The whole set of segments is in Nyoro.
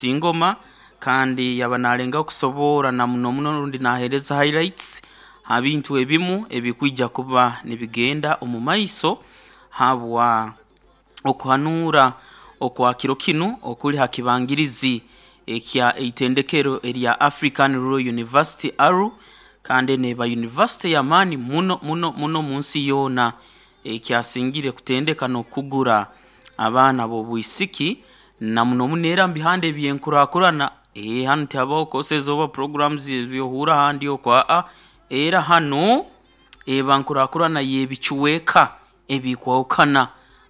Ingoma kandi yaba nalengaho kusoborra na muno muno rundi naheereza highlights ha bintu ebimu ebikwija kuba nibigenda omu maiso habwa okuhanuura okwa kiro kinu okuli ha kibangirizi ekya eitendekero erya African Rural University ARU kandi enu eba university y'amaani muno muno muno munsi yoona ekyasingire kutendeka n'okukugura abaana b'obwisiki na muno muno era mubihanda eby'enkurakurana. Hanu tihabaho courses oba programs ebyohuura ahandi oku aa era hanu eba nkurakurana y'ebicweka ebikwahukana.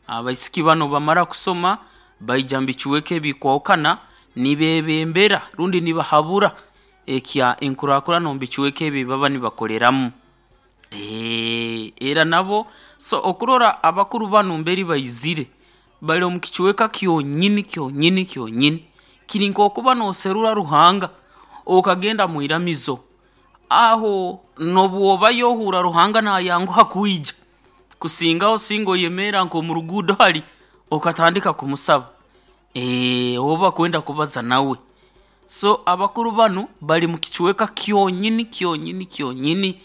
Abaisiki banu obu bamara kusoma baija mubicweka ebikwahukana nibeebembera rundi nibahabura ekya enkurakurana omu bicweka ebi ebibaba nibakoleramu. Era nabo so okurora abakuru banu mbere baizire bali omu kicweka kyonyini kyonyini kyonyini kiri nk'okuba nooserura Ruhanga okagenda mwiramizo aho n'obu obayo ohuura Ruhanga naayanguha kwija kusingaho singa oyemerra nk'omu ruguudo hali okatandika kumusaba oba kwenda kubaza nawe. So abakuru banu bali mu kicweka kyonyini kyonyini kyonyini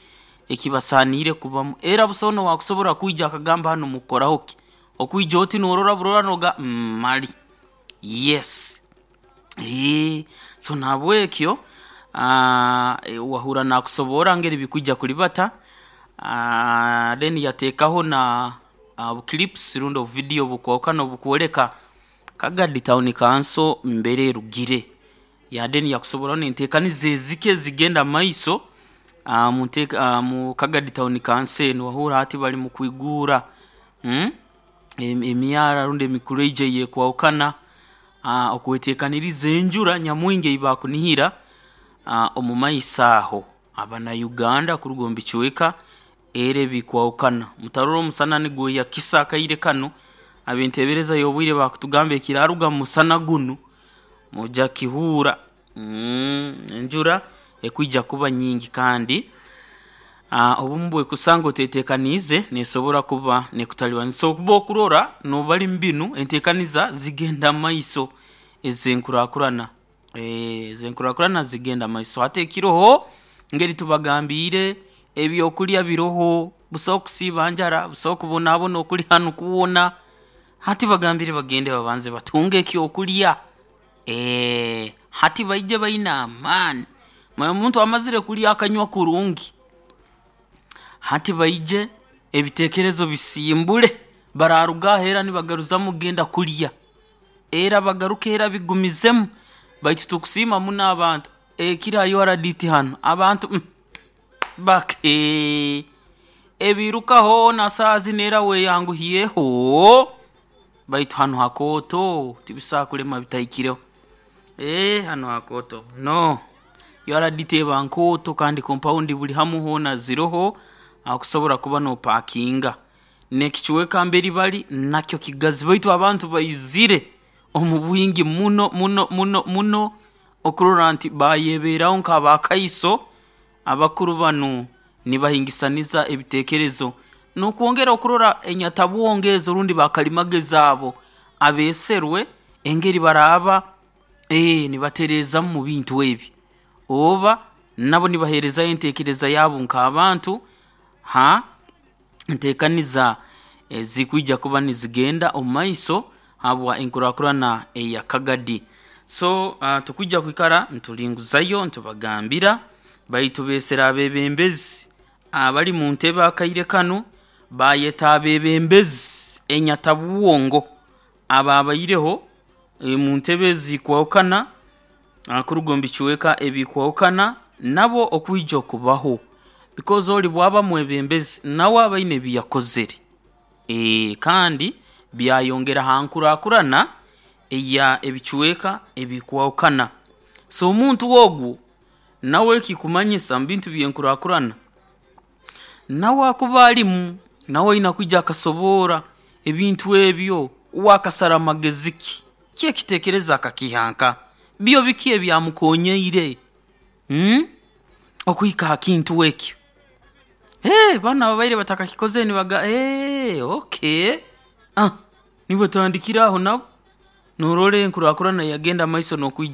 ekibasaaniire kubamu era busaho n'owaakusobora kwija akagamba hanu mukukoraho ki okwija oti noorora burora noogamba mali yes. So nahabwekyo wahuura naakusoborra ngeri bikwija kulibata then yateekaho na bu clips rundi obu video obukwahukana obukwoleka Kagadi Town Council mbere erugire ya then yakusoborraho n'enteekaniza ezike ezigenda mumaiso mu Kagadi Town Council enu wahuura hati bali mu kwiguura emyara rundi emikuleije eyekwahukana okweteekaniriza enjura nyamwingi ei bakunihira omu maiso aho. Abanya-Uganda kuruga omu bicweka era ebikwahukana mutarora omusana nigweyakisa akaire kanu ab'enteebereza y'obwire baakutugamba ekiraaruga mu musana gunu noija kukihuura. Enjura ekwija kuba nyingi kandi obumu obwekusanga oteeteekaniize neesobora kuba neekutalibaniza. So okuba okurora noobali mu binu enteekaniza zigenda mumaiso ez'enkurakurana, ez'enkurakurana zigenda mumaiso. Hati ekiroho ngeri tubagambiire ebyokulya biroho, busaho kusiiba njara, busaho kubonabona okuli hanu kwona, hati bagambire bagende babanze batunge ekyokulya hati baije baine amaani. Manya omuntu amazire kulya akanywa kurungi, hati baije ebiteekerezo bisimbule baraaruga aho era nibagaruzamu kugenda kulya, era bagaruke era bigumizemu baitu tukusiima muno abantu ekiro ha URDT hanu abantu bake ebiiruka hoona saaha zinu era weeyanguhyeho baitu hanu hakooto tibisobora kulema bitahikireho. Hanu hakooto muno, URDT eba nkooto kandi compound buli hamu hoona ziroho ahokusobora kuba noopaakinga. N'ekicweka mbere bali nakyo kigazi baitu abantu baizire omu bwingi muno muno muno muno okurora nti baayebeeraho nk'abaakaiso abakuru banu nibahingisaniza ebiteekerezo n'okwongera okurora enyatabwongo ezo rundi bakalimagezi abo abeeserwe engeri baraaba nibatereezaamu mu bintu ebi oba nabo nibaheerezayo enteekereza yaabu nk'abantu ha nteekaniza ezikwija kuba nizigenda omumaiso habwa enkurakurana eya Kagadi. So tukwija kwikara nitulinguzayo nitubagambira baitu beesere abeebembezi abali mu ntebe akaire kanu baayeta abeebembezi enyatabwongo abaabaireho mu ntebe ezikwahukana kuruga omu bicweka ebikwahukana nabo okwija okubaho because ori bw'aba mwebembezi nawe aba aine ebi yakozere kandi byayongera ha nkurakurana eya ebicweka ebikwahukana. So omuntu ogu nawe ekikumanyisa mu bintu by'enkurakurana nawe akuba alimu, nawe aine kwija akasoborra ebintu ebyo uwe akasara magezi ki, ki ekiteekerezo akakiiha nkaha, byo biki ebyamukoonyeire okuhika ha kintu ekyo. Banu ababaire batakakikozere nibagamba okay, nibatandikira aho nabo. Norora enkurakurana yagenda maiso n'okwija.